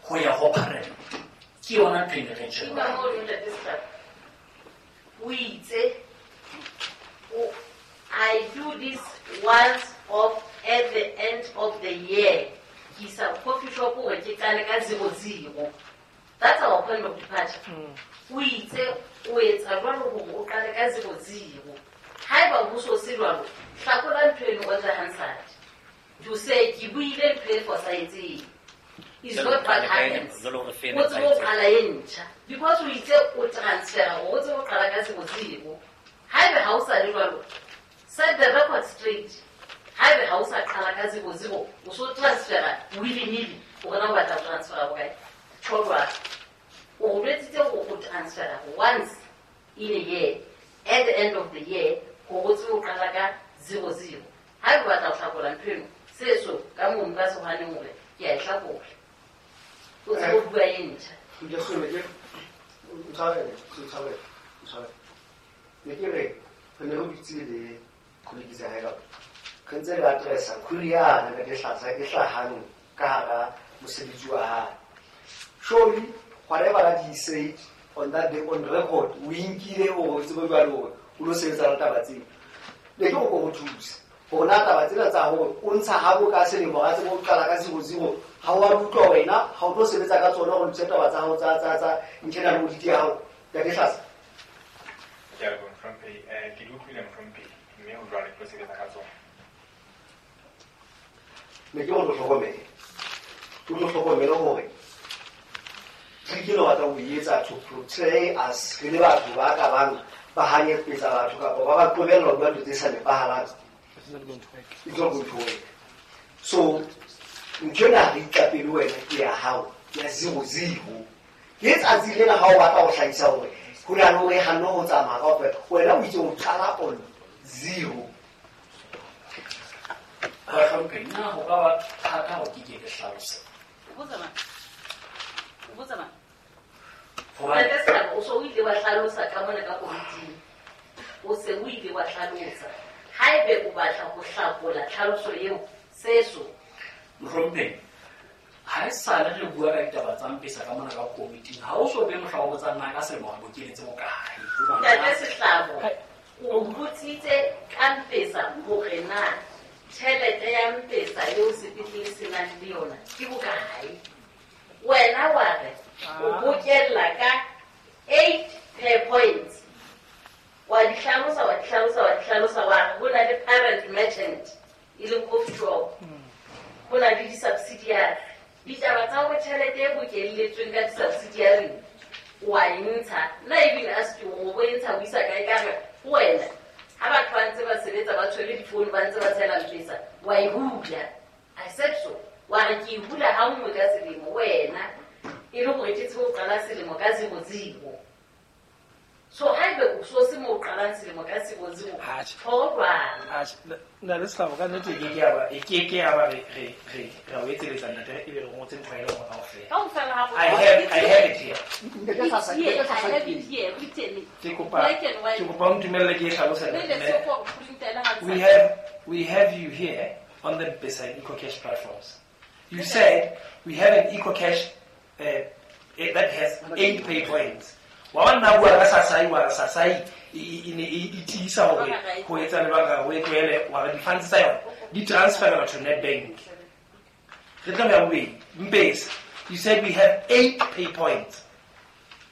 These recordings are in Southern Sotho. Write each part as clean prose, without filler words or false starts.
Ho ya ho parent. Ke yona ntho e ne re Ina mo ntate Sehlabo. O itse I do this once off at the end of the year. Ke isa coffee shop hore ke qale ka 00. That's our point of departure. O itse o etsa jwalo hore o qale ka 00. Haeba ho so se jwalo, hlakola ntho eno on the Hansard. To say ke buile ntho e fosahetseng. Is not what happens. Jwale hore fe O tsebe ho qala e ntjha. Because o itse o transfera hore o tsebe ho qala ka 00. Haebe ha o sa le jwalo, set the record straight. Haebe ha o sa qala ka 00, o so transfera willy-nilly, hore na o batla ho transfera bokae. Tjho jwalo. O jwetsitse hore o transfera once in a year, at the end of the year, hore o tsebe ho qala ka 00. Haebe o batla ho hlakola ntho eno, se so ka mono ka sehwaneng hore ke a e hlakola. O tsebe ho bua e ntjha. Ke sone ke ntshwarele, ntshwarele, ntshwarele. Ne ke re re ne re dutse le colleague tsa hae ka re ntse re addressa query yane ka dihlatsa e hlahang ka hara mosebetsi wa hae. Surely whatever that he said on that day on record, o inkile hore o tsebe jwale hore o lo sebetsa le taba tseo. Ne ke go thusa hore na taba tsena tsa hore o ntsha habo ka selemo ga tsebe o qala ka 00, ha o a utlwa wena ha o tlo sebetsa ka tsona hore o taba tsa hao tsa internal audit ya hao ya dihlatsa. Ke a leboha, Mohlomphehi. Ke di utlwile, Mohlomphehi, mme ho jwale ke tlo sebetsa ka tsona. Ne ke gore o hlokomele. O tlo hlokomele hore trick eno batla ho e etsa to portray us re le batho ba ka bang ba hanyetsa batho kapa ba ba qobella ho bua ntho tse sa nepahalang. It's not going to work. It's not going to work. So ntho ena re itlapele wena ke ya hao ya 00. Ke tsatsi lena ha o batla ho hlahisa hore ho na le hore hanne ho tsamaya kaofela, wena o itse o qala on 0. Bahlomphehi, na ho ka ba thata hore ke ke ke hlalose? O botsa mang? O botsa mang? Hobane Ntate Sehlabo, o so o ile wa hlalosa ka mona ka komiting. O se o ile wa hlalosa. Haebe o batla ho hlakola tlhaloso eo, seso. Mohlomphehi, ha e sale re bua ka ditaba tsa Mpesa ka mona ka komiting, ha o so be mohla o botsang na ka selemo re bokeletse bokae. Ntate Sehlabo, o botsitse ka Mpesa hore na tjhelete ya Mpesa eo sepetlele se nang le yona ke bokae. Wena wa re o bokella ka 8 per points. Wa di hlalosa, wa di hlalosa, wa di hlalosa, wa re ho na le parent merchant e leng coffee shop. Ho na le di-subsidiary. Ditaba tsa hore tjhelete e bokelletsweng ka di-subsidiary wa e ntsha. Nna even ask you hore o e ntsha o isa kae, ka re ho wena ha batho ba ntse ba sebetsa ba tshwere difounu ba ntse ba tshela Mpesa, wa e hula. I said so. Wa re ke e hula ha nngwe ka selemo wena, e le hore ke tsebe ho qala selemo ka 00. So haebe o so se mo qalang selemo ka 00, Atjhe. tholwana. Atjhe, nna le Sehlabo ka nnete e ke ke ya ba, e ke ke ya ba re o etseletsa ntate, ebe re ngotse ntho e le nngwe kaofela. Kaofela ha rona. I have it here. Ntate Hlasa, It's here. Ntate Hlasa I have ke it here written. Ke kopa, Black and white. ke kopa o ntumelle ke e hlalose. Mme le se go printela ha We ntsha. have you here on the Mpesa and EcoCash platforms. You said we have an EcoCash that has 8 pay points. Wa bona bua ka Sasai, wa re Sasai e ne e tiisa hore ho etsa lebaka ho e tlohele, wa re di-funds tsa yona di transferelwa to Nedbank. Re tla ya bobedi. Mpesa, you said we have 8 pay points.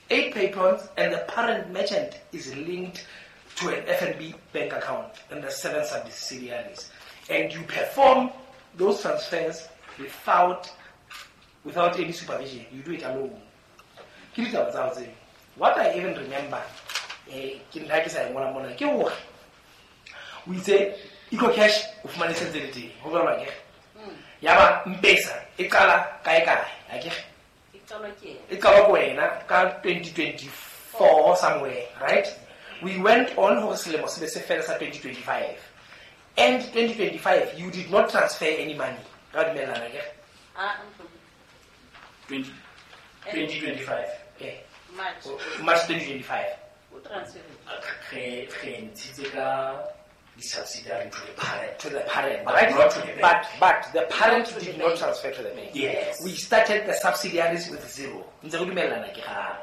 8 pay points, and the parent merchant is linked to an FNB bank account and the 7 subsidiaries. And you perform those transfers without any supervision. You do it alone. Ke ditaba tsa hao tseo. What I even remember, ke ntlha ke sa e ngola mona, ke hore o itse EcoCash o fumane se ntse le teng, ho jwalo akere? Yaba Mpesa e qala kae kae, akere? E qalwa ke ena. E qalwa ke wena ka 2024 somewhere, right? We went on hore selemo se be se fele sa 2025. And 2025, you did not transfer any money. Ka dumellana akere? Ah, ntlo. 2025. Eh. March. March 2025. O transfer. Re ntshitse ka di-subsidiary to the parent. To the parent, But right? not to the bank. But the parent Not to the did not bank. transfer to the bank. Yes. We started the subsidiaries with zero. Ntse re dumellana ke Ah,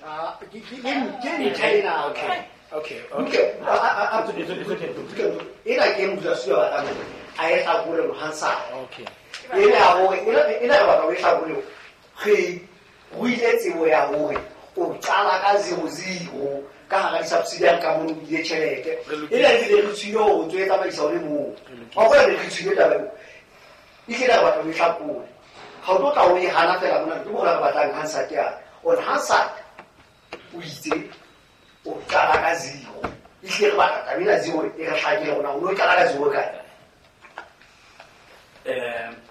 Ah, ke ntlha ena. Okay. Okay. Okay. Okay. Ena ke modulasetulo a batlang hore a e hlakole Hansard. Okay. Ena ya hore ena re batla ho e hlakole re ruile tsebo ya hore o qala ka 00 ka hara di-subsidiary ka mono o ile tjhelete. Re lokile. Ena ebile re tswile hore o ntso e tsamaisa o le mong. Re lokile. Wa bona ne re tswile taba eo. Ehlile re batla ho e hlakole. Ha o tlo tla o e hana fela mona, ke mona re batlang Hansard yane. On Hansard o itse o qala ka 0. Ehlile re batla taba ena 0 e re hlakile hore na o no qala ka 0 kae.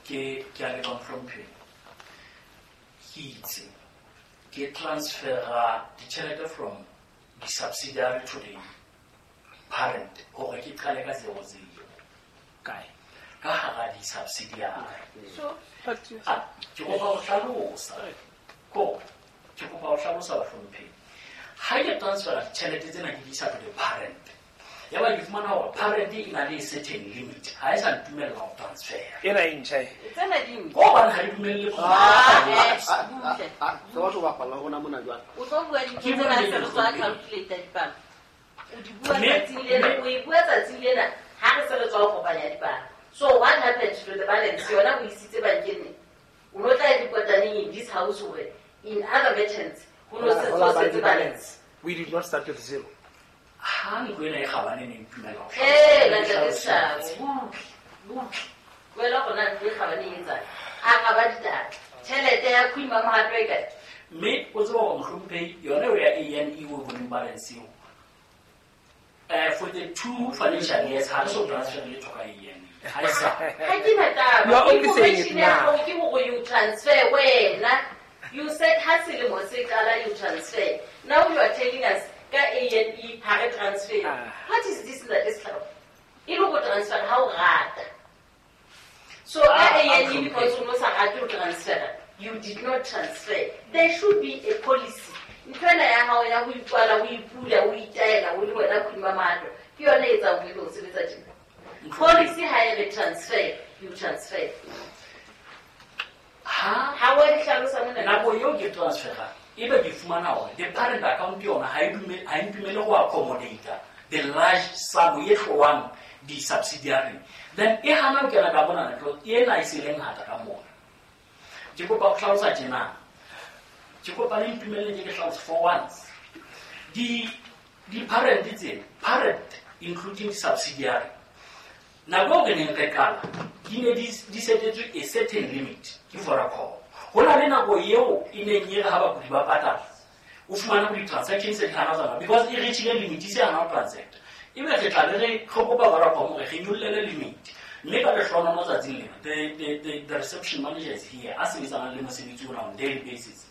Ke a leboha mohlomphehi. Ke itse ke transfera ditjhelete from di-subsidiary to the parent hore ke qale ka 00 Kae? ka hara di-subsidiary. So, Ah, ke kopa ho hlalosa. Ke kopa ho hlalosa bahlomphehi. Ha ke transfera ditjhelete tsena ke di isa to the parent, ya ba ke fumana hore parent e na le certain limit, ha e sa ntumella ho transfera. Ena e ntjha e. tsena di ntjha. Ko hobane ha di dumelle ho Ah, transfera. eh, butle. Se batho ba bapalla ho rona mona jwale. O tlo bua dintho Ke tsena bua se re tswa dintho. calculate dipalo. O di bua tsatsing lena, o e bua tsatsing lena ha re se re tswa ho kopanya dipalo. So what happened to the balance? Yona o isitse bankeng neng? O no tla e report-a neng in this house hore in other merchants ho no setse ho setse balance. We did not start with zero. Ha ntlo ena e kgabane ne ntumella ho Eh, hlalosa. ntate Seshabo, butle, butle. Wena gona ntlo e kgabane e etsang. Araba ditaba. Tjhelete ya Queen Mamohato e kae? Mme o tseba hore mohlomphehi yona eo ya A&E o boneng balance eo, for the 2 financial years ha re so transfer letho ka A&E. Ha e sa. Ha ke na taba. You are only saying it Information ya now. hao ke hore you transfer wena. You said ha selemo se qala you transfer. Now you are telling us ka A&E ha re transfer. Ah. What is this ntate Sehlabo? E le go transfer ha o rata. So ka Ah, A&E because o no sa rate ho transfer, you did not transfer. There should be a policy. Ntho ena ya hao ya ho ikwala, o ipula, o itaela, o le wena Queen Mamohato, ke yona e etsang ho ebe o sebetsa tjena. Policy ha e re transfer, you transfer. Ha Ha wa di hlalosa mona. nako eo ke transfera ebe ke fumana hore the parent account yona ha e ha e ntumelle ho accommodate the large sum e hlowang di-subsidiary, then e hana ho kena ka monana because ena e se le ngata ka mona. Ke kopa ho hlalosa tjena. Ke kopa le ntumelle ke hlalose for once. Di-parent tsena, parent including subsidiary, nako eo re neng re qala di ne di setetswe a certain limit ke Vodacom. Ho na le nako eo e neng e re ha bakudi ba patala, o fumane hore di-transaction se di hana ho tsamaya because e reach-ile limit, e se hana ho transact. Ebe re tla be re kopa Vodacom hore re nyollele limit. Mme ka lehlohonolo tsatsing lena, the reception manager is here, a sebetsanang le mosebetsi ona on daily basis.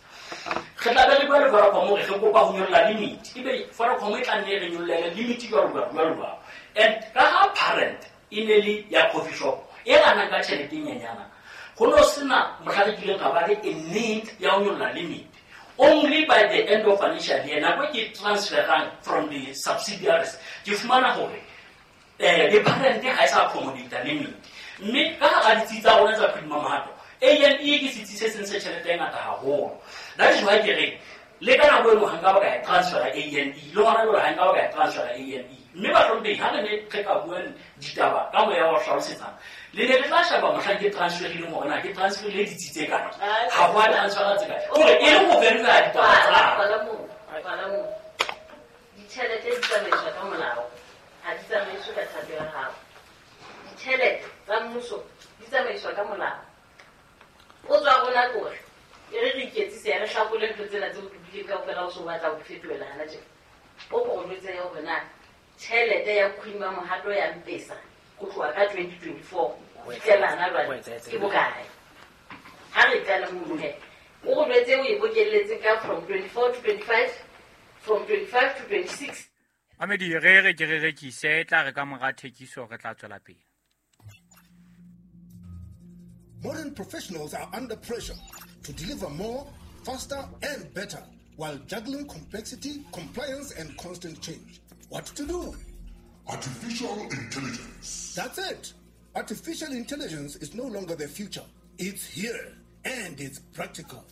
Re tla be re bua le Vodacom hore re kopa ho nyolla limit. Ebe Vodacom e tla nne e re nyollele limit jwalo jwalo jwalo jwalo. And ka ha parent e ne le ya coffee shop e ranang ka tjhelete e nyenyana, ho no sena mohla re kileng ra ba le a need ya ho nyolla limit. Only by the end of financial year, nako e ke transferang from the subsidiaries, ke fumana hore the parent ha e sa accommodate limit. Mme ka hara ditsi tsa rona tsa Queen Mamohato, A&E ke setsi se seng se tjhelete e ngata haholo. That is why ke reng le ka nako eno ha nka ba ka e transfera A&E, le hona jwale ha nka ba ka e transfera A&E. Mme bahlomphehi, ha re ne re ka bua ditaba ka moya wa ho hlalosetsana, le ne le tla sheba mohlang ke transferileng hore na ke transferile ditsi tse kae. Ha ho a transfera tse kae. Hore e le ho verify ditaba tsa Kwala, kwala moo, kwala moo. Ditjhelete di tsamaiswa ka molao, ha di tsamaiswe ka thato ya hao. Ditjhelete tsa mmuso di tsamaiswa ka molao. O tswa rona kore e re re iketsise ya re hlakole ntho tsena tseo di buileng kaofela o so batla ho di fetohela hana tjena. O ko o jwetse hore na tjhelete ya Queen Mamohato ya Mpesa ho tloha ka 2024 ho fihlela hana jwale ke bokae? Ha re qala mono he, o re jwetse o e bokelletse ka from 24 to 25, from 25 to 26. Mamedi, re re ke re rekise, e tla re ka mora thekiso re tla tswela pele. Modern professionals are under pressure to deliver more, faster, and better while juggling complexity, compliance, and constant change. What to do? Artificial intelligence. That's it. Artificial intelligence is no longer the future. It's here and it's practical.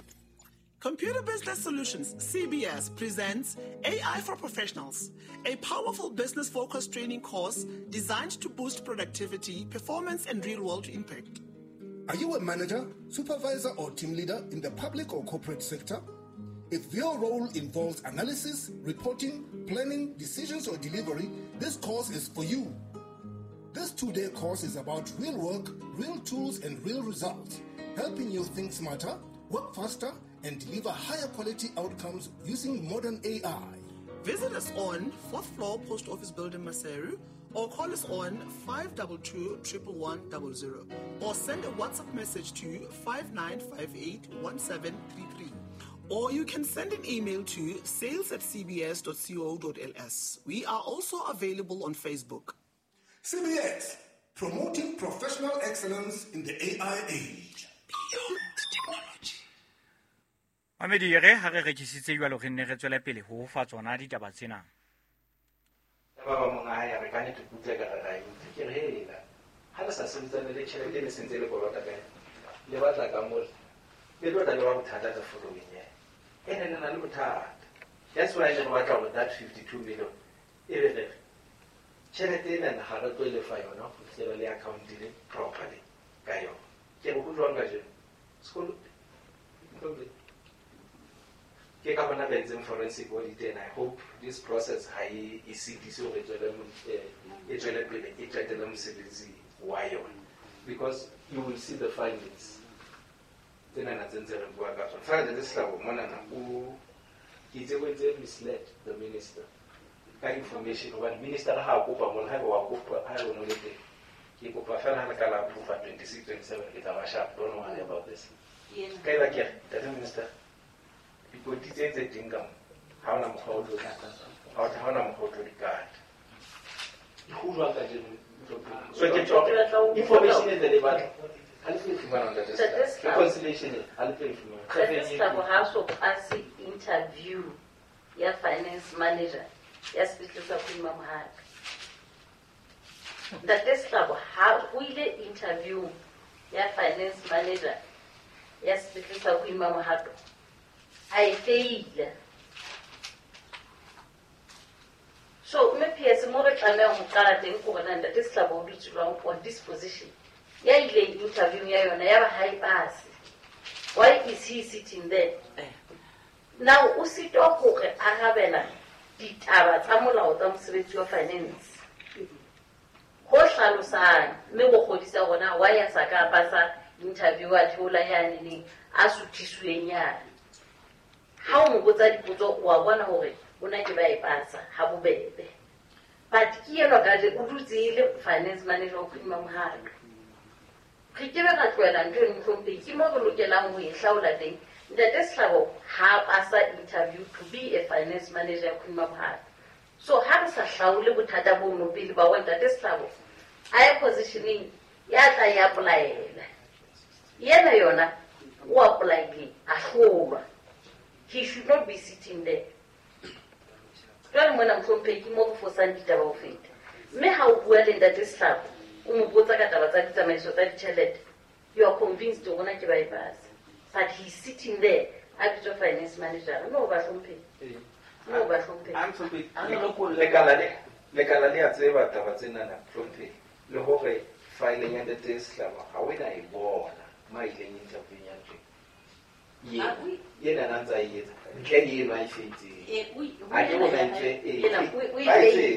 Computer Business Solutions, CBS, presents AI for Professionals, a powerful business-focused training course designed to boost productivity, performance, and real-world impact. Are you a manager, supervisor, or team leader in the public or corporate sector? If your role involves analysis, reporting, planning, decisions, or delivery, this course is for you. This 2-day course is about real work, real tools, and real results, helping you think smarter, work faster, and deliver higher quality outcomes using modern AI. Visit us on 4th floor Post Office Building, Maseru, or call us on 522-11100, or send a WhatsApp message to 5958-1733. Or you can send an email to sales@cbs.co.ls. We are also available on Facebook. CBS, promoting professional excellence in the AI age. Beyond technology. Mamedi re ha re rekisitse jwalo re nne re tswele pele ho fa tsona ditaba tsena. Ba ba monga hae re ka nete kutle ka re ke re hela. Ha le sa sebetsane le tjhelete le sentse le kolota ka. Le batla ka mo. Le tlo tla le ba bothata ka following ya. Ene le na le bothata. That's why le batla go that 52 million. E be re tjhelete ena ha re tlo lefa yona ho fihlela le account le properly ka yona. Ke re ho jwang ka jeno? Sekolo. Ke ka bona ba entseng forensic audit, and I hope this process ha e sitise hore e tswele pele e qetele mosebetsi wa yona, because you will see the findings tsenana tse ntse re bua ka tsona. Fela Ntate Sehlabo monana o ke itse o entse misled the minister ka information, hobane minister ha a kopa mona, haeba wa kopa ha o no le teng, ke kopa fela ha le ka la approve 26 27 ke tla ba sharp. Don't worry about this. Ka eba ke re Ntate Minister, dikoti tse tse teng ka mo ha ona mokgwa o tlo ha ona mokgwa o tlo di kata. Ho jwang ka jeno? So ke tjho information e le batla ha le tlo fumana Ntate Sehlabo. Reconciliation ha le tlo fumana. Ntate Sehlabo ha so pass interview ya finance manager ya sepetlele sa Queen Mamohato. Ntate Sehlabo ha o ile interview ya finance manager ya sepetlele sa Queen Mamohato, a e feila. So mme PS mo re tlamehang ho qala teng ke hore na Ntate Sehlabo o dutse jwang on this position. Ya ile interview ya yona ya ba ha e pass. Why is he sitting there? Now o sitwa hore arabela ditaba tsa molao tsa mosebetsi wa finance. Ho hlalosang mme go kgodisa hore why a sa ka pasa interview a theola yane neng a suthisweng yane. Ha o mo botsa dipotso wa bona hore o na ke ba e pasa ha bobebe. But ke yena ka je o dutse le finance manager wa Queen Mamohato. Re ke be ra tlohela ntho eno mohlomphehi, ke mo re lokelang ho e hlaola teng. Ntate Sehlabo ha pasa interview to be a finance manager ya Queen Mamohato. So ha re sa hlaole bothata bono pele ba wa Ntate Sehlabo, a ye positioning ya tla ya apply-ela. Yena yona o apply-ile a hlolwa. He should not be sitting there. Jwale mona mohlomphehi ke mo re fosang ditaba ho feta. Mme ha o bua le Ntate Sehlabo, o mo botsa ka taba tsa ditsamaiso tsa ditjhelete, you are convinced hore na ke ba e pasa. But he's sitting there a bitswa finance manager. No ba hlomphehi. No ba hlomphehi. Lekala le a tseba taba tsenana hlomphehi, le hore file ya Ntate Sehlabo ha o ena e bona ma ileng interview ya teng. Yena na ntsa etsa ntle le eno a e fetseng. A ke bona ntle e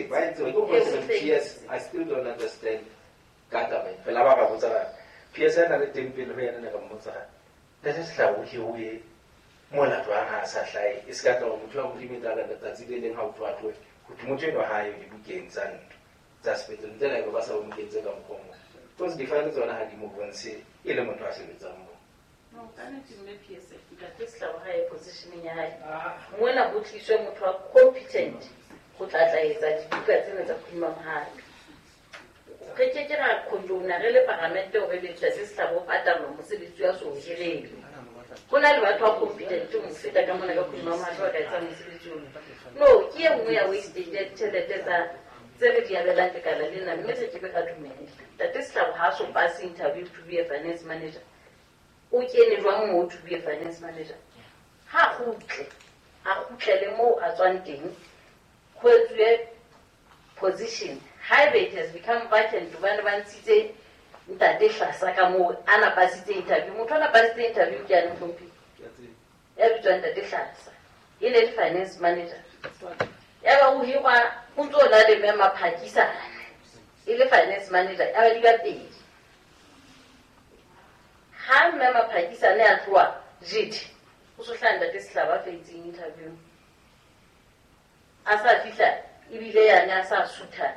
ba itse go PS. I still don't understand ka taba e. Fela ba ba botsa PS ana le teng pele ho yena ne re mmotsa Ntate Sehlabo ke o e mona jwang ha a sa hlahe, e se ka tla hore motho wa Modimo e tla re letsatsi le leng ha o tloha tlohe ho thwe motho enwa ha yo dibukeng tsa ntlo tsa sepetlele ntle le haeba ba sa o mokentse ka mokgwa o mong, because di-file tsona ha di mo bontshe e le motho a sebetsang moo. No, ka nnete mme PS, Ntate Sehlabo ha ye positioning ya hae. Mona ho tliswe motho wa competent ho tla tla etsa dibuka tsena tsa Queen Mamohato. Re ke ke ra condone re le paramente hore le Ntate Sehlabo o patalwa mosebetsi wa so hirelwe. Ho na le batho ba competent ho mo feta ka mona ka Queen Mamohato ba ka etsang mosebetsi ono. No, ke e nngwe ya wastage ya ditjhelete tsa Tse re di abelang lekala lena, mme re kebe ra dumela. Ntate Sehlabo ha so pass interview to be a finance manager. O kene jwang moo to be a finance manager? Ha kgutle, a kgutlele moo a tswang teng, ho etsuwe position. Haeba it has become vacant, hobane ba ntshitse ntate Hlasa ka moo a na pasitse interview. Motho a na pasitse interview ke yane mohlomphehi. Ya bitswang ntate Hlasa. E ne le finance manager. Ya ba o hirwa o ntso na le mme Maphakisane. E le finance manager, ya ba di ba pedi. Ha mme Maphakisane a tloha jete, o so hlaha ntate Sehlabo a fetseng interview. A sa fihla ebile yane a sa sutha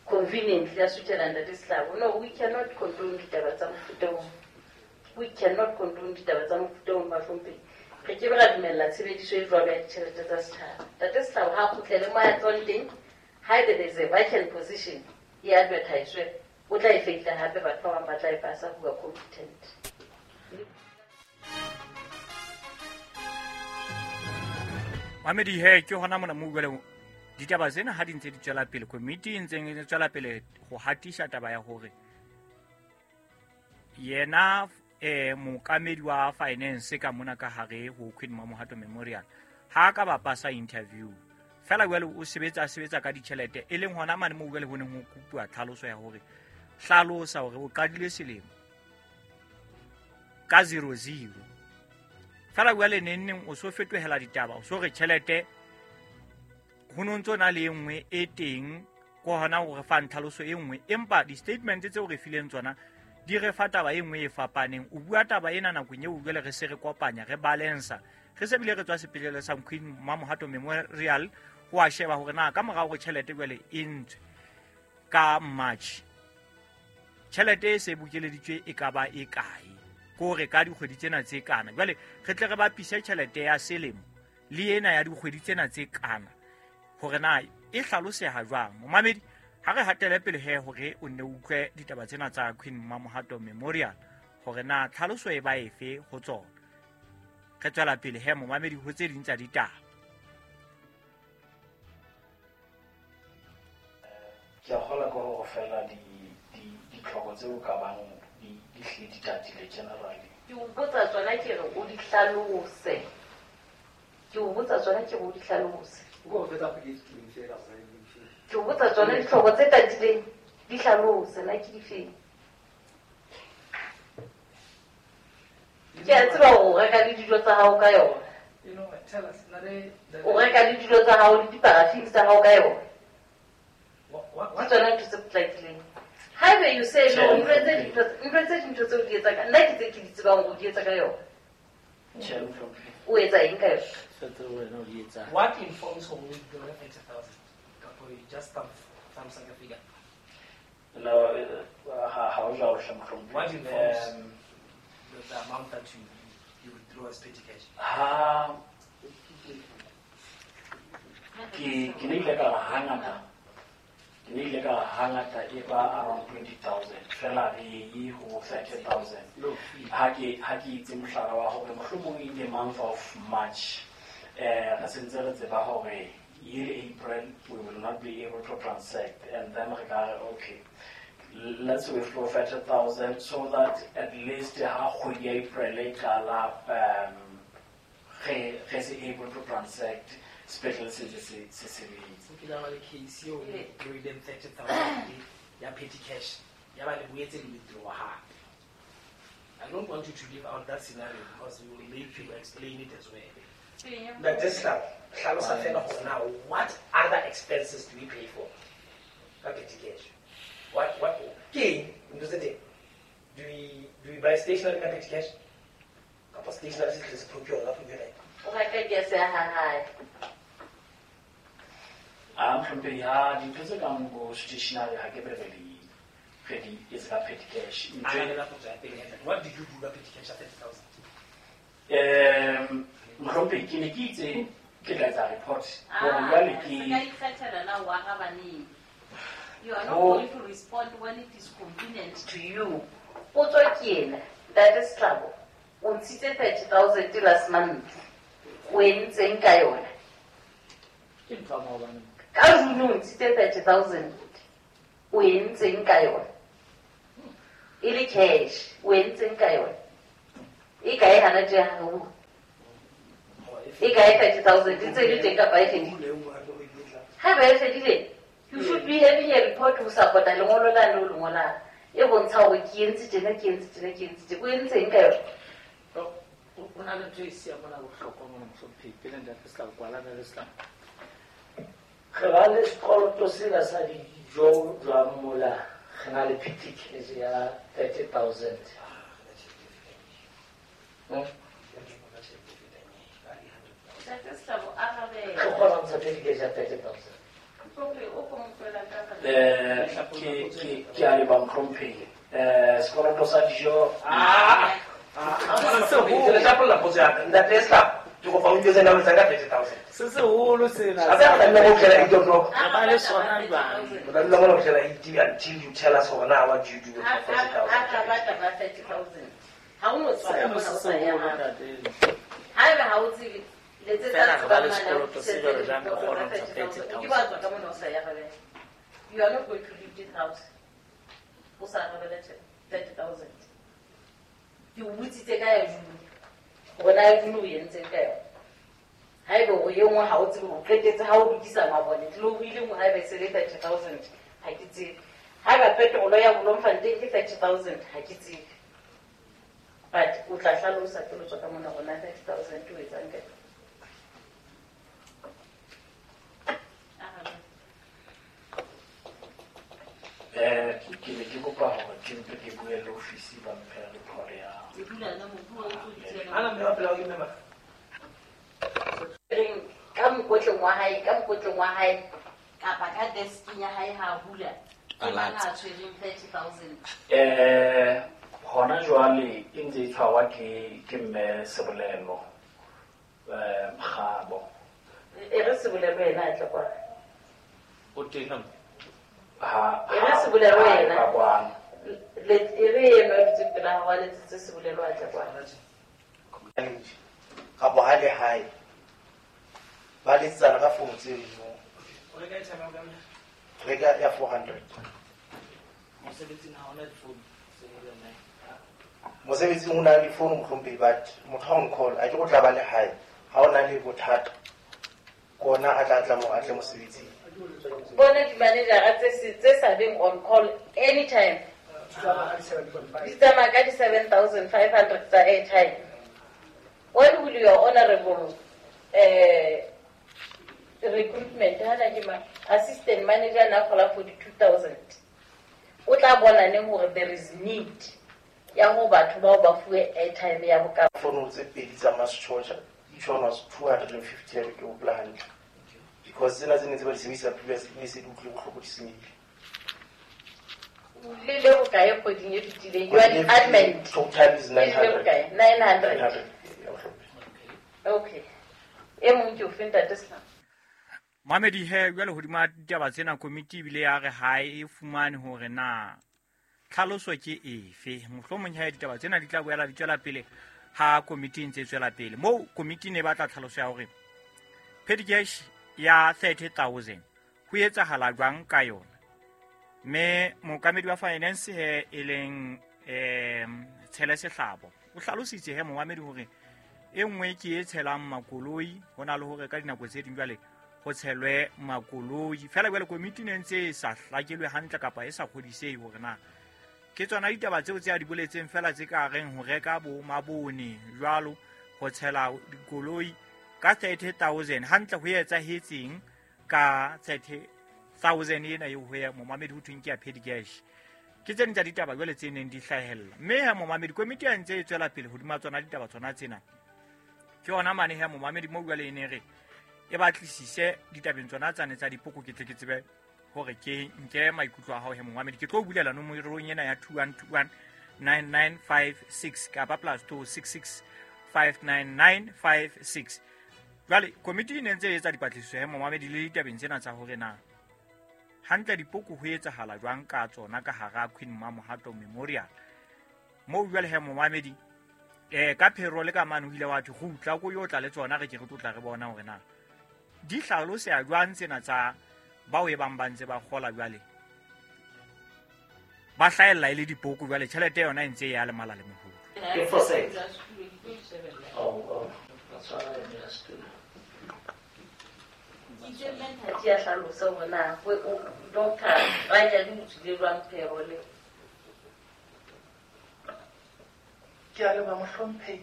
conveniently a suthela ntate Sehlabo. No, we cannot condone ditaba tsa mofuta oo. We cannot condone ditaba tsa mofuta oo, bahlomphehi. Re ke be ra dumella tshebediso e jwalo ya ditjhelete tsa setjhaba. Ntate Sehlabo ha kgutlele mo a tswang teng, haebe there is a vacant position e advertiswe, o tla e feila hape batho ba bang ba tla e pasa who are competent. Mamedi he ke hona mona mo jwale ditaba tsena ha di ntse di tswela pele, komiti e ntseng e tswela pele ho hatisa taba ya hore yena mookamedi wa finance ka mona ka hare ho Queen Mamohato Memorial ha ka ba pasa interview fela jwale o sebetsa ka ditjhelete, e leng hona mane moo jwale ho neng ho kopuwa tlhaloso ya hore hlalosa hore o qadile selemo ka 00 fela jwale neng o so fetohela ditaba, o so re tjhelete ho no ntso na le e nngwe e teng ko hona hore fa ntlhaloso e nngwe, empa di-statement tseo re fileng tsona di re fa taba e nngwe e fapaneng. O bua taba ena nakong eo jwale re se re kopanya, re balansa, re se bile re tswa sepetlele sa Queen Mamohato Memorial ho a sheba hore na ka morao hore tjhelete jwale e ntswe ka March, tjhelete e se bokeleditswe e ka ba e kae, ke hore ka dikgwedi tsena tse kana. Jwale re tle re bapise tjhelete ya selemo le ena ya dikgwedi tsena tse kana hore na e hlaloseha jwang. Momamedi, ha re hatele pele he hore o nne o utlwe ditaba tsena tsa Queen Mamohato Memorial hore na tlhaloso e ba efe ho tsona. Re tswela pele he momamedi ho tse ding tsa ditaba. Ke a kgolwa ke hore fela ditlhoko tseo ka bang di hlile di tatile generally. Ke o botsa tsona ke re o di hlalose. Ke o botsa tsona ke re o di hlalose. Ke o botsa tsona ditlhoko tse tatileng di hlalose na ke difeng. Ke a tseba hore o reka le dijo tsa hao ka yona. O reka le dijo tsa hao le diparafini tsa hao ka yona. Ke tsona ntho tse potlakileng. Haeba you say no, ntho tse dintho tseo di etsa ka nna ke tse ke di tsebang hore o di etsa ka yona. O etsa eng ka yona? What informs hore o withdraw 30,000? Kapo just thumbs like a figure. No, ha o jwalo hle mohlomphehi. What informs the amount that you withdraw as petty cash? Ha ke ne ile ka hangata. Ke ne ile ka hangata e ba around 20,000 fela re ye ho 30,000. Ha ke itse mohlala wa hore mohlomong in the month of March re sentse re tseba hore year April we will not be able to transact, and then re ka re okay, let's withdraw 30,000 so that at least ha kgwedi ya April e qala re se able to transact sepetlele se ntse se sebetsa. O kile wa ba le case eo le withdrawileng 30,000 ya petty cash, ya ba le boetse le withdraw hape. I don't want you to leave out that scenario because we will make you explain it as well. But this hlalosa fela hore na what other expenses do we pay for ka petty cash? What ke eng ntho tse teng? Do we buy stationery ka petty cash? Kapa stationery se tle se procure ka procure? O reka gas ya ha hae. A mohlomphehi, ha dintho tse kang bo stationery ha ke be re di etse ka petty cash. What did you do ka petty cash at 30,000? Mohlomphehi, ke ne ke itse ke tla etsa report hore jwale ke Se ka ikgethela na o araba neng. You are not going to respond when it is convenient to you. Potso ke ena, Ntate Sehlabo, o ntshitse 30,000 last month. O entseng ka yona? Ke ntho ya maobane. Ka June o ntshitse 30,000. O entseng ka yona? E le cash, o entseng ka yona? E kae hana tje ha o? E kae 30,000? E ntse e le teng kapa e fedile? Haeba e fedile, you should be having a report ho support-a lengolo lane o le ngolang. E bontsha hore ke entse tjena, ke entse tjena, ke entse tjena. O entseng ka yona? Ho na le ntho e siyang mona bohlokwa mona mohlomphehi, pele ntate Setlamo, kwala ntate Setlamo. Re ba le sekoloto sena sa dijo jwang mola re na le petty cash ya 30,000. Ntate Setlamo, arabela. Re kgona ho ntsha petty cash ya 30,000. Ke a leboha mohlomphehi. Sekoloto sa dijo. Ke tla potso ya ka. Ntate Setlamo, ke kopa o ntjwetse na o etsang ka 30,000. Se seholo sena. A tla nna mo fihlela 8 o'clock. Re ba le sona jwang? O tla dula mona ho fihlela 8 until you tell us hore na what do you do with Ha the 30,000. a ba taba 30,000. Ha o no tswa Seno mona se o sa ya seholo, hae. ntate. Haeba ha o tsebe, letsetsa Fela re ba le tsebang sekoloto se jwalo jwang re kgona ho ntsha 30,000. O 30,000. ke wa tswa ka mona o sa ya hae. You are not going to leave this house. O sa arabela 30,000. Ke o botsitse ka ya June. Hore na ya June o entseng ka yona. Haeba o e nngwe ha o tsebe, o qetetse ha o lokisa mabone. Tlilo o ile nngwe haeba e se le 30,000, ha ke tsebe. Haeba petrol ya Bloemfontein ke 30,000, ha ke tsebe. But o tla hlalosa pele o tswa ka mona hore na 30,000 o etsang ka yona. Ke ne ke kopa hore ke mpe ke bue le ofisi ba mphe report ya. O dula na mobu o ntso dutse Ana mme wa pela o ke mme mang? Reng ka mokotleng wa hae, ka mokotleng wa hae kapa ka desking ya hae ha a hula. Ke mang a tshwereng 30,000? Hona jwale e ntse e tshwarwa ke mme Sebolelo, Mokgabo. E re Sebolelo yena a tle kwana. O teng ha Ha E re Sebolelo ha yena. ba kwana. E re eno a dutseng pela hao a letsetse Sebolelo a tle kwana. Kapa ha le hae. Ba letsana ka phone tse ding. O reka airtime ya bokae? Reka ya 400. Mosebetsing ha hona difounu, Sebolelo ne. Mosebetsing o na le difounu mohlomphehi, but motho ha o n-call, a ke go tla ba le hae. Ha o na le bothata, kona a tla tla mo a tle mosebetsing. Bona di-manager-a tse sa beng on call anytime. Di tsamaya ka di-7,500 tsa airtime. When will your honorable recruitment hana ke ma assistant manager na kgola 42,000? O tla bona neng hore there is need ya ho batho bao ba fuwe airtime ya bokae? Founu tse pedi tsa Mass Charger, each one was 250 ya ke hopola hantle. Because tsena tse ne tse ba di sebedisa previously di ne se di utlwile bohloko di senyehile. Le le bokae kgweding e fetileng? You are the admin. Total is Le le 900. bokae? 900. 900. Ya mohlomphehi. Okay. E mong ke o fe ntate Sehlamo? Mamedi he jwale hodima ditaba tsena komiti ebile ya re ha e fumane hore na tlhaloso ke efe. Mohlomong he ditaba tsena di tla boela di tswela pele ha komiti e ntse e tswela pele. Moo komiti ne e batla tlhaloso ya hore petty cash ya 30,000 ho etsahala jwang ka yona. Mme mookamedi wa finance he e leng Tshele Sehlabo o hlalositse he momamedi hore e nngwe ke e tshelang makoloi, ho na le hore ka dinako tse ding jwale ho tshelwe makoloi. Feela jwale komiti ne ntse e sa hlakelwe hantle kapa e sa kgodisehe hore na ke tsona ditaba tseo tse a di boletseng feela tse ka reng ho reka bo mabone jwalo, ho tshela dikoloi ka 30,000 hantle ho etsahetseng ka 30,000 ena eo ho ya momamedi ho thweng ke ya petty cash. Ke tse ding tsa ditaba jwale tse neng di hlahella. Mme ha momamedi komiti ya ntse e tswela pele hodima tsona ditaba tsona tsena. Ke yona mane ha momamedi moo jwale e ne re e batlisise ditabeng tsona tsane tsa dipoko, ke tle ke tsebe hore ke nke maikutlo a hao he momamedi. Ke tlo bulela nomorong ena ya 21219956 kapa plus 266 59956. Jwale komiti e ne ntse e etsa dipatlisiso he momamedi le ditabeng tsena tsa hore na hantle dipoko ho etsahala jwang ka tsona ka hara Queen Mamohato Memorial. Moo jwale he momamedi ka phero le ka mane ho ile wa thwe kgutla ko yo tla le tsona, re ke re tlo tla re bona hore na di hlaloseha jwang tsena tsa Bao e bang ba ntse ba kgola jwale ba hlahella e le dipoko jwale tjhelete yona e ntse e ya le mala le mohodu. Ke foresight. Oh, that's why I just Itse mme Nthati a hlalosa hore na doctor Ranyadi o tswile jwang payroll. Ke a leboha mohlomphehi.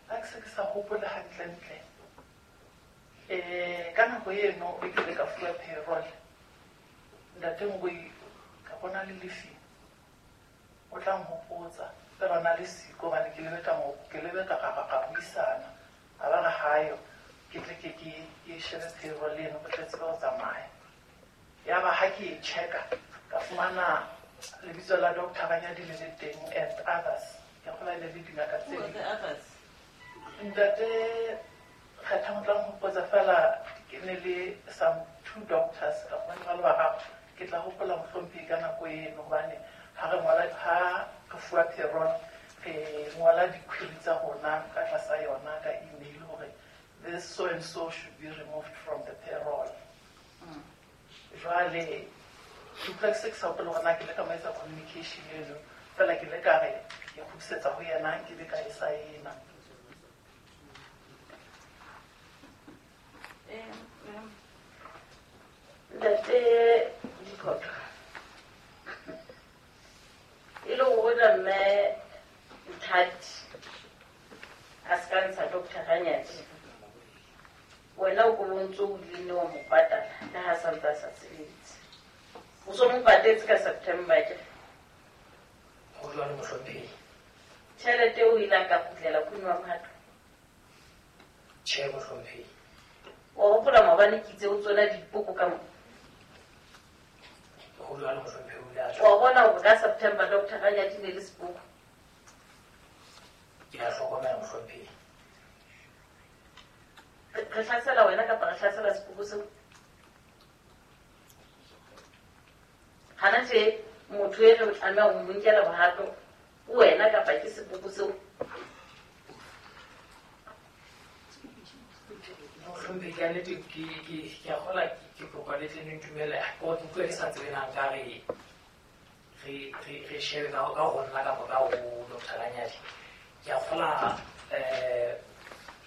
Ha ke se ke sa hopola hantlentle. Ka nako eno e ke ile ka fuwa payroll. Ntate Ngoi ka bona le lefi. O tla nhopotsa fela na le siko hobane ke lebe ka buisana. A ba re hayo ke tle ke shebe payroll eno ke tle tsebe ho tsamaya. Yaba ha ke e checka ka fumana lebitso la Dr. Ranyadi le le teng and others. Ke kgolwa e le le dingaka tse ding. Ntate Kgetha o tla nhopotsa fela ke ne le some two doctors ka fumana ba le bararo. Ke tla hopola mohlomphehi ka nako eno hobane ha re ngola ha re fuwa payroll re ngola di-query tsa rona ka tlasa yona ka email hore this so and so should be removed from the payroll. Jwale ke utlwa ke se ke sa hopole hore na ke ile ka mo etsa communication eno fela ke ile ka re ke kgutlisetsa ho yena nke be ka e saena. Ntate Diphotho e le hore mme Nthati a se ka ntsha Dr. Ranyadi wena o ko ntso o ile wa mo patala le ha sa ntse a sa sebetse. O so mo patetse ka September ke. Ho jwalo mohlomphehi. Tjhelete o ile ka kgutlela Queen wa Mohato. Tjhe mohlomphehi. Wa hopola maobane ke itse o tswela dipoko ka mo. Ho jwalo mohlomphehi o ile a Wa bona hore ka September Dr. Ranyadi ne le sepoko. Ke a hlokomela mohlomphehi. Re hlasela wena kapa re hlasela sepoko seo? Hana tje motho e re tlameha ho mo nkela bohato wena kapa ke sepoko seo? Mohlomphehi ka nnete ke a kgola ke kopa le tle le ntumelle. Ke utlwa ke sa tsebe na nka re re shebe ka ho nna kapa ka ho Dr. Ranyadi. Ke a kgola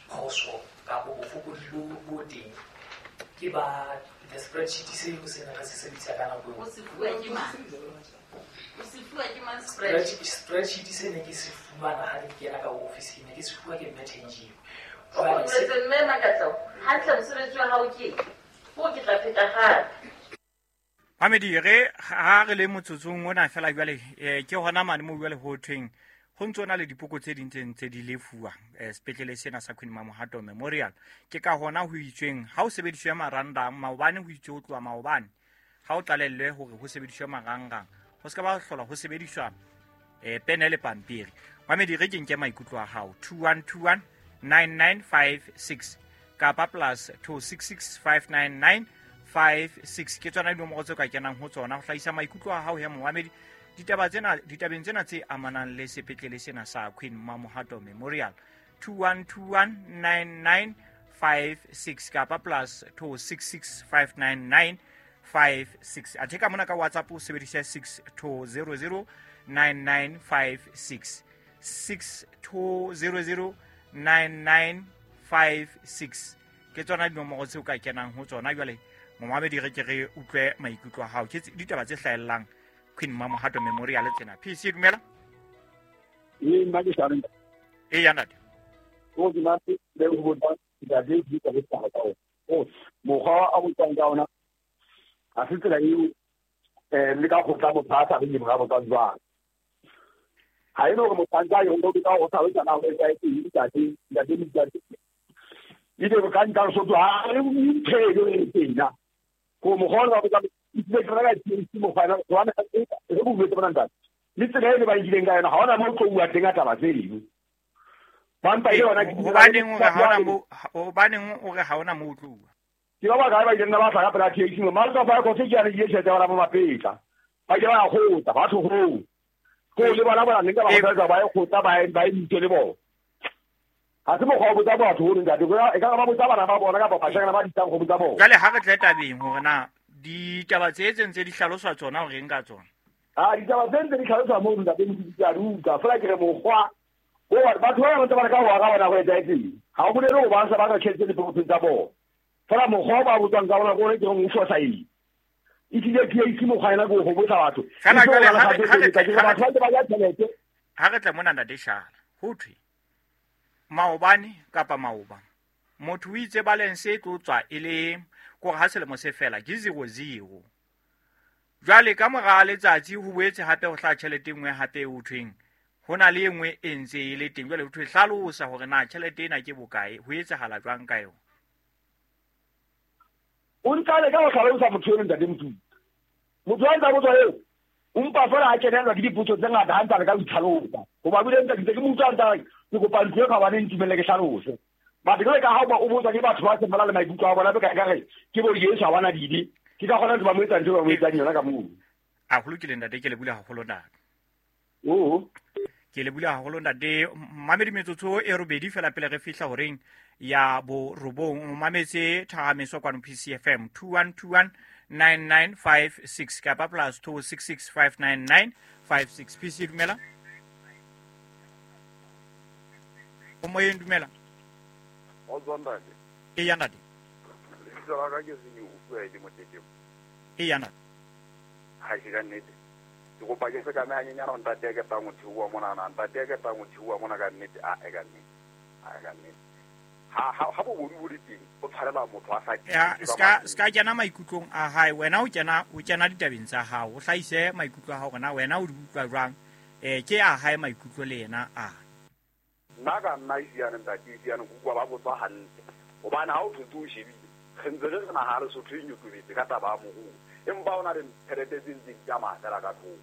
phoso kapa bofokodi bo teng ke ba the spreadsheet seo se ne re se sebedisa ka nako eo. O se fuwa ke mang? O se fuwa ke mang spreadsheet? Spreadsheet se ne ke se fumana ha ke kena ka office ne ke se fuwa ke mme Thenjiwe. O boletse mme Makatlo, hantle mosebetsi wa hao ke o ke tla pheta hape. Mamedi re ha re le motsotsong ona fela jwale ke hona mane mo jwale ho thweng ho ntso na le dipoko tse ding tse ntse di lefuwa sepetlele sena sa Queen Mamohato Memorial. Ke ka hona ho itsweng ha o sebediswe marangrang maobane ho itswe ho tloha maobane ha o tlalellwe hore ho sebediswe marangrang ho se ka ba hlola ho sebediswa pene le pampiri. Mamedi re ke nke maikutlo a hao 2121 9956 kapa plus 266599 56 ke tsona dinomoro tseo ka kenang ho tsona ho hlahisa maikutlo a hao he momamedi ditabeng tsena tse amanang le sepetlele sena sa Queen Mamohato Memorial 21219956 kapa plus 26659956. Athe ka mona ka WhatsApp o sebedisa 62009956 62009956 ke tsona dinomoro tseo ka kenang ho tsona. Jwale momamedi re ke re utlwe maikutlo a hao ke ditaba tse hlahellang Queen Mamohato Memorial tsena. PC dumela. Ee nna ke Sharon. Ee ya ntate. O ke nna le ho botsa ntate ke ka botsa ka o. O mokgwa a botsang ka ona ha se tsela eo le ka go tla motho a sa reng ga botsa jwang. Ha eno gore motho a ntse a yone ka go tlhalosa na go etsa eng ntate ntate ntate. Ide go ka nka so ha re nthelo e tena. Go mokgwa wa botsa le ke reka ke mokgwa wa re bo botsa bona ntate. Le tsela e le ba ileng ka yona ha ona mo tlo bua teng ka taba tse ding. Ba mpa ile yona hobaneng o re ha ona mo tlo bua. Ke ba ba ba ileng ba tla ka pela THC mo mara ka ba go tse ke ya le tjhelete ba mo mapetla. Ba ile ba kgotsa ba tho ho. Ko le bona ba neng ka ba kgotsa ba e kgotsa ba e ntse le bona. Ha se mokgwa wa botsa batho hore ntate e ka ba botsa bana ba bona kapa bashanyana ba ditang go botsa bona. Jwale ha re tle tabeng hore na Ditaba tse tse ntse di hlaloswa tsona o reng ka tsona? A ditaba tse ntse di hlaloswa moo ntate Motutsi a di utlwa fela ke re mokgwa o batho ba bangata ba leka ho araba nako e etsahetseng. Ha o bolele ho ba sa ba ka tjhelete dipokothong tsa bona. Fela mokgwa o ba botswang ka ona ke ona ke reng o fosahetse. Ehlile PAC mokgwa ena ke ho botsa batho. Fela jwale ha batho ba ntse ba ja tjhelete. Ha re tle mona ntate Shala, ho thwe maobane kapa maoba motho o itse balance e tlo tswa e le kore ha selemo se fela ke 00. Jwale ka mora letsatsi ho boetse hape ho hlaha tjhelete e nngwe hape e ho thweng ho na le e nngwe e ntse e le teng. Jwale ho thwe hlalosa hore na tjhelete ena ke bokae, ho etsahala jwang ka yona. O ntsa le ka ho hlalosa motho eno ntate Motutsi. Motho a ntsa botswa eo o mpa fela a kenelwa ke dipotso tse ngata ha ntsa le ka ho itlhalosa. Hoba bile ntse ke mo utlwa ntsa ke kopa ntlo e kgabane ntumelle ke hlalose. Batho jwale ka ha o botswa ke batho ba seng ba na le maikutlo a bona, ka re ke bo Jesu ha bana dibe. Ke ka kgona ntho ba mo etsang ntho ba mo etsang yona ka moo. A ho lokile ntate, ke le bula haholo ntate. Oo. Ke le bula haholo ntate. Mamedi metsotso e robedi fela pele re fihla horeng ya borobong. O mametse Thahamiso kwano PCFM 2121 9956 kapa plus 26659956. PC dumela. O moyeng dumela. O ntate. E ya ntate. Lebitso la ka ke Senyo, o bua le Motetemo. E ya ntate. Ha ke ka nnete. Ke kopa ke se ka mehanyenyana ntate ya ketang ho theoha mona, ntate ya ketang ho theoha mona ka nnete, a e ka nnete. A e ka nnete. Ha bobodu bo le teng, o tshwarela motho a sa Ya, ska kena maikutlong a hae. Wena o kena ditabeng tsa hao. O hlahise maikutlo a hao hore na wena o di utlwa jwang. Ke a hae maikutlo le yena a. Nna ka nna isiane ntate isiane ke utlwa ba botswa hantle. Hobane ha o thotse o shebile, re ntse re re naha Lesotho e nyotobetse ka taba ya moruo. Empa ho na le tjhelete tse ntseng di tsamaya fela ka thoko.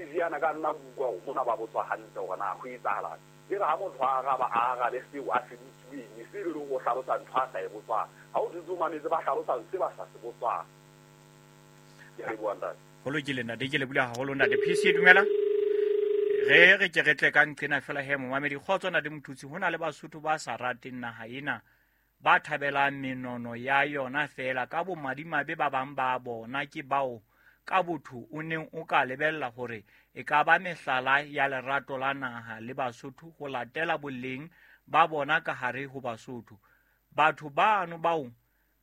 Isiane ka nna ke utlwa hore mona ba botswa hantle hore na ho etsahalang. E re ha motho a araba, a arabe seo a se botsiweng, e se le hore o hlalosa ntho a sa e botswang. Ha o thotse o mametse ba hlalosang se ba sa se botswang. Ke a leboha ntate. Ho lokile ntate, ke lebohile haholo ntate. PC dumela. Re ke re tle ka nqena fela he momamedi. Kgotso ntate Motutsi, ho na le Basotho ba sa rateng naha ena, ba thabelang menono ya yona fela. Ka bomadimabe ba bang ba bona ke bao ka botho o neng o ka lebella hore e ka ba mehlala ya lerato la naha le Basotho ho latela boleng ba bona ka hare ho Basotho. Batho bano bao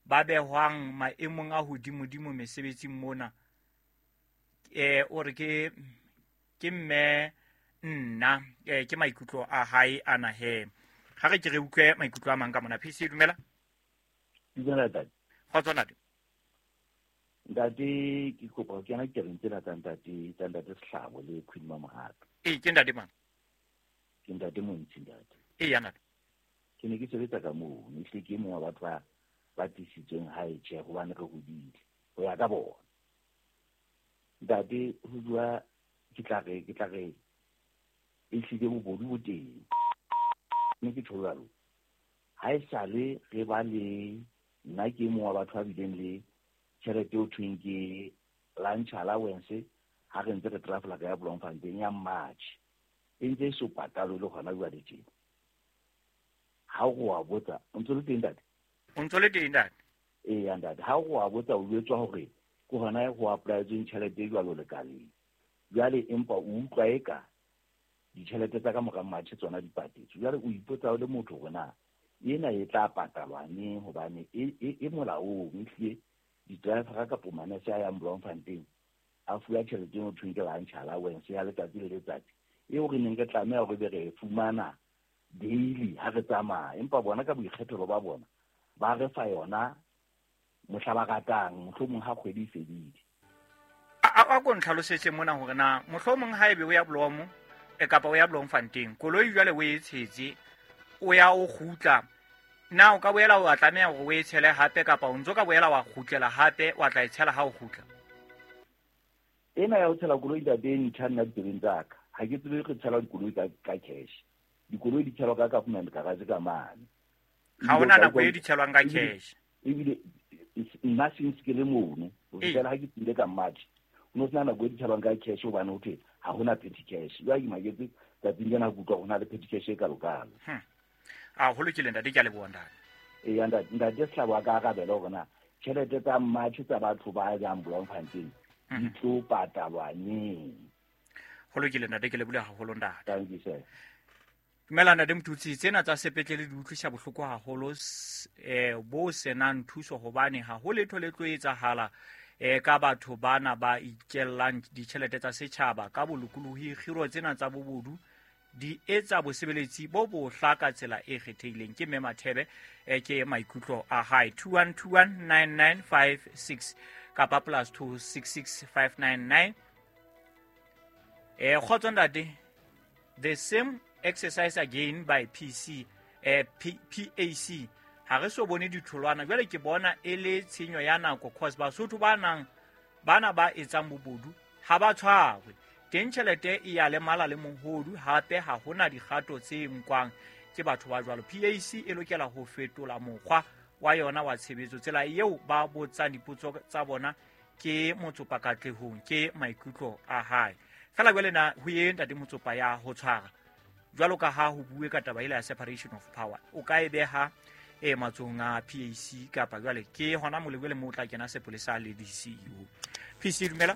ba behwang maemong a hodimodimo mesebetsing mona, o re ke mme nna, ke maikutlo a hae ana he. Ha re ke re utlwe maikutlo a mang ka mona. PC dumela. Dumela ntate. Kgotso ntate. Ntate ke kopa ho kena ditabeng tsena tsa ntate Sehlabo le Queen Mamohato. Ee, ke ntate mang? Ke ntate Montshi ntate. Ee, ya ntate. Ke ne ke sebetsa ka moo, mme ehlile ke e mong wa batho ba tlisitsweng hae tjhe hobane re hodile ho ya ka bona. Ntate ho bua ke tla re ehlile bobodu bo teng. Mme ke tjho jwalo. Ha esale re ba le nna ke e mong wa batho ba bileng le tjhelete eo thweng ke lunch allowance ha re ntse re travel ka ya Bloemfontein ya March. E ntse e so patalwe le hona jwale tjena. Ha o wa botsa, o ntse le teng ntate? O ntse le teng ntate? Ee ntate, ha o wa botsa o jwetswa hore ke hona ho apply-etsweng tjhelete e jwalo lekaleng. Jwale empa o utlwa eka ditjhelete tsa ka mora March tsona di patetswe. Jwale o ipotsa o le motho hore na ena e tla patalwa neng hobane e molaong ehlile di-driver kapo manese a yang Bloemfontein a fuwa tjhelete eo thweng ke lunch allowance ya letsatsi le letsatsi eo re neng re tlameha hore be re e fumana daily ha re tsamaya, empa bona ka boikgethelo ba bona ba re fa yona mohla ba ratang, mohlomong ha kgwedi e fedile. A ko ntlhalosetse mona hore na mohlomong ha ebe o ya Bloem kapa o ya Bloemfontein, koloi jwale o e tshetse, o ya o kgutla, na o ka boela wa tlameha hore o e tshele hape kapa o ntso ka boela wa kgutlela hape wa tla e tshela ha o kgutla? Ena ya ho tshela koloi ntate e ntjha nna ditsebeng tsa ka. Ha ke tsebe re tshela dikoloi ka cash. Dikoloi di tshelwa ka government garage ka mane. Ha hona nako e di tshelwang ka cash. Ebile nna since ke le mono, ho fihlela ha ke tsile ka March, ho no sena nako e di tshelwang ka cash hobane ho thwe ha hona petty cash. Jwale ke maketse tsatsing lena ke utlwa ho na le petty cash e kalokalo. A ho lokile ntate, ke a leboha ntate. Ee ntate Sehlabo a ka arabela hore na Tjhelete tsa March tsa batho ba jang Bloemfontein di tlo patalwa neng? Go lokile ntate, ke lebole haholo ntate. Thank you, sir. Dumela ntate Motutsi, tsena tsa sepetlele di utlwisa bohloko haholo bo senang thuso, hobane ha ho letho le tlo etsahala ka batho bana ba itjellang ditjhelete tsa setjhaba ka bolokolohi. Kgiro tsena tsa bobodu di etsa bosebeletsi bo bohla ka tsela e kgethehileng. Ke mme Mathebe, ke maikutlo a hae. 21219956 kapa +266599. Kgotso ntate, the same exercise again by PC PAC. Ha re so bone ditholwana jwale, ke bona e le tshenyo ya nako, cause Basotho ba nang bana ba etsang bobodu ha ba tshwarwe teng, tjhelete e ya lemala le mohodu, hape ha hona dikgato tse nkwang ke batho ba jwalo. PAC e lokela ho fetola mokgwa wa yona wa tshebetso, tsela eo ba botsang dipotso tsa bona ke Motsopa Katlehong, ke maikutlo a hae fela. Jwale na ho ye ntate Motsopa ya ho tshwara jwalo ka ha ho bue ka taba ela ya separation of power, o ka e beha e matsohong a PAC kapa jwale ke hona molebele mo o tla kena sepolesa le DCU? PC, dumela.